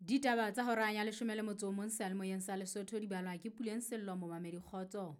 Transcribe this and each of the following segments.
Ditaba tsa hora ya 11 seyalemoyeng sa Lesotho di balwa ke Puleng Sello momamedi kgotso.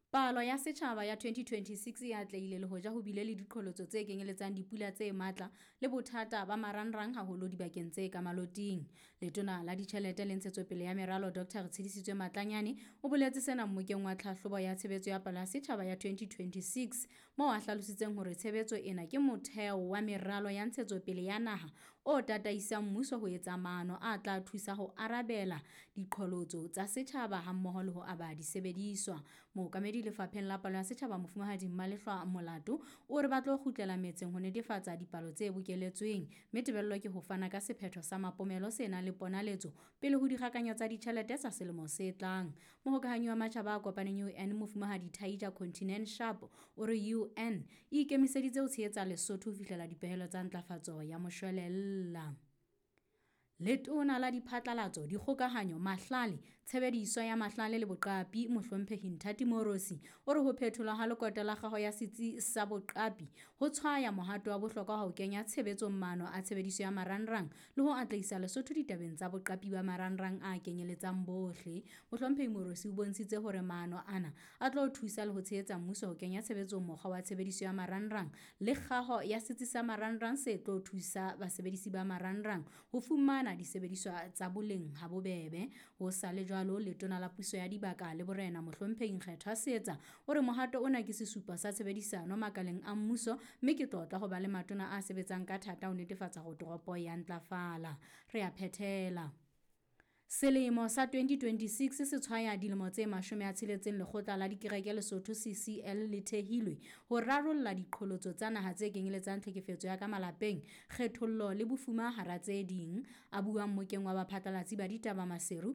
Palo ya setjhaba ya 2026 e atlehile le hoja ho bile le diqholotso tse kenyeletsang dipula tse matla le bothata ba marangrang haholo dibakeng tse ka maloting. Letona la Ditjhelete le Ntshetsopele ya Meralo Dr. Retshidisitswe Matlanyane o boletse sena mmokeng wa tlhahlobo ya tshebetso ya palo ya setjhaba ya 2026 moo a hlalositseng hore tshebetso ena ke motheo wa meralo ya ntshetsopele ya naha o tataisang mmuso ho etsa maano a tla thusa ho arabela diqholotso tsa setjhaba hammoho le ho aba disebediswa. Mookamedi lefapheng la palo ya setjhaba Mofumahadi Mmalehlwa Molato o re ba tlo kgutlela metseng ho netefatsa dipalo tse bokeletsweng, mme tebello ke ho fana ka sephetho sa mapomelo se nang le ponaletso pele ho dikgakanyo tsa ditjhelete tsa selemo se tlang. Mohokahanyi wa Matjhaba a Kopaneng UN Mofumahadi Taija Kontinen Sharp o re UN e ikemiseditse ho tshehetsa Lesotho ho fihlela dipehelo tsa ntlafatso ya moshwelella. Letona la Diphatlalatso, Dikgokahanyo, Mahlale, Tshebediso ya Mahlale le Boqapi Mohlomphehi Nthati Moorosi o re ho phetholwa ha lekoto la kgaho ya setsi sa boqapi ho tshwaya mohato wa bohlokwa wa ho kenya tshebetsong maano a tshebediso ya marangrang le ho atlehisa Lesotho ditabeng tsa boqapi ba marangrang a kenyeletsang bohle. Mohlomphehi Moorosi o bontshitse hore maano ana a tlo thusa le ho tshehetsa mmuso ho kenya tshebetsong mokgwa wa tshebediso ya marangrang le kgaho ya setsi sa marangrang se tlo thusa basebedisi ba marangrang ho fumana disebediswa tsa boleng ha bobebe. Ho sa le jwalo, letona la puso ya dibaka le borena Mohlomphehi Nkgethwa Seetsa o re mohato ona ke sesupo sa tshebedisano makaleng a mmuso, mme ke tlotla ho ba le matona a sebetsang ka thata ho netefatsa hore toropo ya ntlafala. Re a phethela. Selemo sa 2026 se tshwaya dilemo tse 60 Lekgotla la Dikereke Lesotho CCL le thehilwe ho rarolla diqholotso tsa naha tse kenyeletsang tlhekefetso ya ka malapeng, kgethollo le bofuma hara tse ding. A bua mmokeng wa baphatlalatsi ba ditaba Maseru,